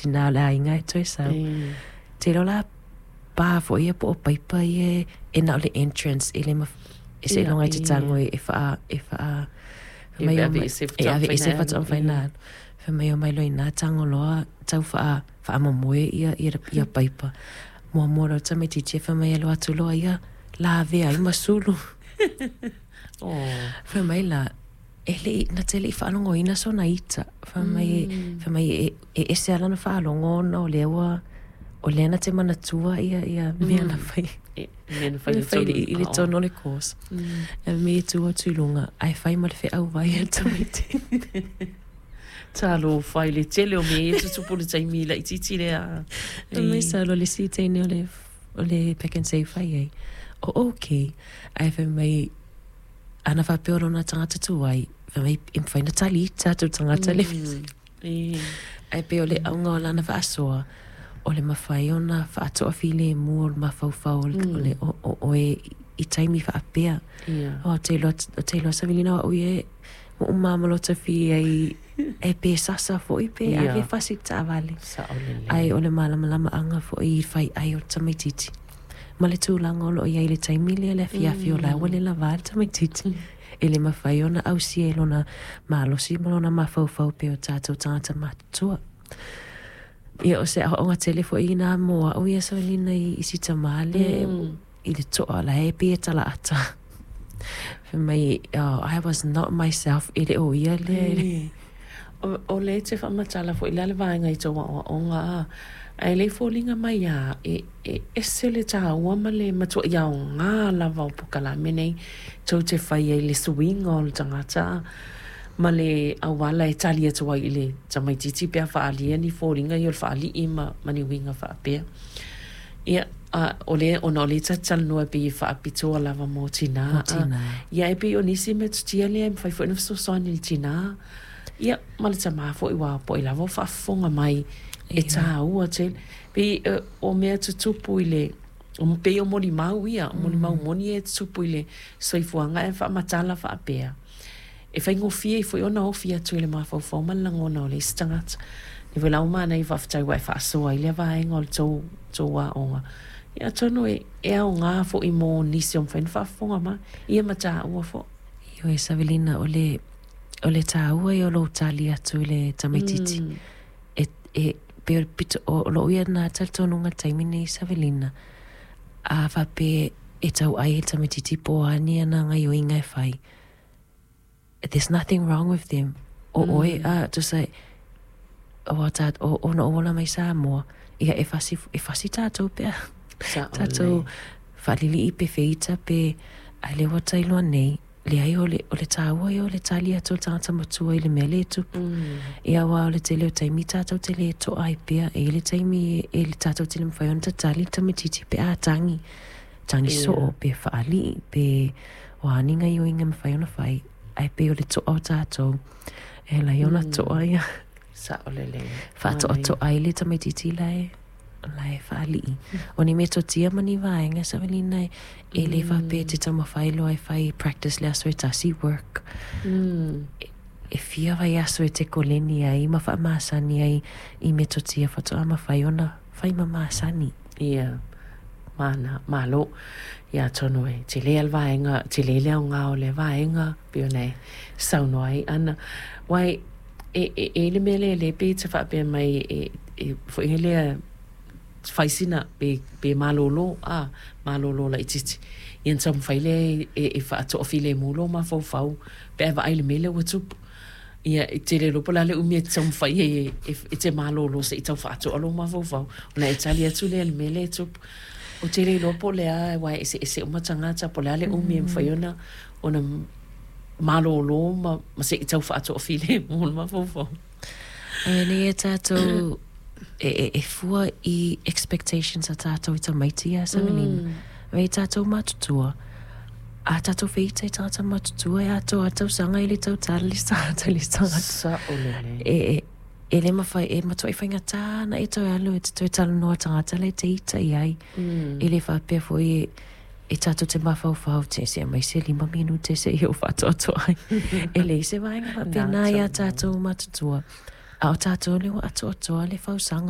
tinā o le aiga e toe sau. Te iloa la pa foi ia po o paipa ia e na o le entrance e le e seiloga e te tago e faa e faa E aveese e aveese faatoa mafai ona alu. Fai mai omai loa i ina tago loa tau faa faamomoe ia ia paipa. Muamua loa le tamaitiiti fai mai e alu atu loa ia lavea ai ma sulu. Fai mai la, e le i, na te le i faalogoina sona ita. Fai mai, fai mai e, e ese lava lana faalogo ona o lea ua, o lea na te manatua ia, ia mea na fai. Mea na fai i le tonu o le course. E me e tu atu i luga, ae fai ma le feau vai a le tamaitiiti. Talofa i le tele o mea ia e tutupu i le taimi laitiiti lea. Fai mai salo le isi teine o le, o le Pak'nSave fai ai, o okay. Ae fai mai, ana faapea o lona tagata tuai, fai mai e mafai ona tali ita atu le tagata le Ae pei o le auga o lana faasoa, o le mafai ona faatoafilemu o le mafaufau o le o oe i taimi faapea. Ou te iloa, ou te iloa Savelina o au ia e ua uma ma lota fia i e pe sasa foi pe ave fasi i le taavale. Ae o le malamalamaaga foi i fai ai o le tamaitiiti ma le tulaga o lo o i ai i le taimi lea i le afiafi o la ua le lava le tamaitiiti. E le mafai ona ausia e lona malosi ma lona mafaufau pei o tatou tagata matutua. Ia, o se aoaoga tele foi ina mo au ia Savelina i si tamā lea i le toa la e pei e talaata. Fai mai, oh, I was not myself, e le o ia lea. O lea e te faamatala foi la le vaega i tou aoaoga a, ae le i foliga mai a e, e ese le taua ma le matuai aoga lava o polokalame nei tou te fai ai i le suiga o le tagata a, ma le auala e tali atu ai i le tamaitiiti pe a faaalia ni foliga ia o le faalii ma, ma ni uiga faapea. Ia, a, o lea, ona o lea ta te talanoa e pei e faapitoa lava mo tinā. Mo tinā. Ia, e pei o nisi metotia lea e mafai foi ona fesoasoani i le tinā, ia, ma le tamā foi, aua po o ai lava o faafofoga mai, e tāua tele. Pei o mea tutupu i le, pei o molimau ia, o molimau moni ia e tutupu i le soifuaga ae faamatala faapea. E faigofie ai foi ona ofi atu i le mafaufau ma le lagona o le isi tagata. Lea foi la ua manaia faafetai ua e faasoa ai lea vaega o le tou, tou aoga. Ia atonu e, e aoga foi mo nisi o mafai ona faafofoga mai, ia ma taua foi. Ioe Savelina, o le, o le tāua ia o lou tali atu i le tamaitiiti. E, e, pei o le pito, o, o lou ia na talitonuga i le taimi nei Savelina, a faapea e tauai ai le tamaitiiti po o a ni ana gaioiga e fai, there's nothing wrong with them. O oe a tusa aua tā, o, ona ou ola mai Samoa, ia e fasi, e fasi tātou pea. Tātou faalilii pe feita pe, ae lea ua tailoa nei, leai o le, o le tāua ia o le tali atu o le tagata matua i le mea lea e tupu. Ia aua o le tele o taimi tātou te lē toa ai pea, e i ai le taimi e, e tātou te le mafai ona tatali le tamaitiiti pe a tagi. Tagi soo, pe faalii, pe o a ni gaioiga e mafai ona fai, ae pei o le toa o tatou, e ala ai ona toa ia. Sao lelei. Faatoatoa ai le tamaitiiti la e, la e faalii. O ni metotia ma ni vaega Savelina e, e le faapea e te taumafai loa e fai practice le aso e tasi, work. E fia vaiaso e te koleni ai ma faamasani ai i metotia faatoa mafai ona fai ma masani. Ia, mana, malo. Ia atonu e tele le vaega, tele le aoga o lea vaega, pei ona e saunoa ai Ana. Aua e, e, e i ai le mea lea lea pei e te faapea mai e, e, foi lea fai sina pe, pe malolo, a, malolo laitiiti. Ia ona taumafai lea e, e, e faatoafilemu lou mafaufau pe a e vaai i le mea lea ua tupu. Ia, e te le iloa po o le a le umi e te taumafai ai e, e te malolo se i tau faatoa lou mafaufau, ona e tali atu lea i le mea lea e tupu. Ou te le iloa po o le a, aua e eseese uma tagata, po o le a le umi e mafai ona, ona malolo ma, ma se i tau faatoa filemu le mafaufau. Ae nei e tātou, e, e, e fua i expectations a tātou i tamaiti ia Savelina. Me i tātou matutua, a tātou wheita i tagata matutua e atoa tausaga i le tau tala le tagata le tagata. Sao lelei. E, e, e le mawhai, e matua i whaingatā ana e toe alu e te toe talanoa tagata le te ita i ai. E le whapea foi e, e tātou te mawhauwhau te se mai se lima minute se i o whaatoatoa ai. E leai se vaega faapena i a tātou matutua. A o tātou le ua atoatoa le fausaga.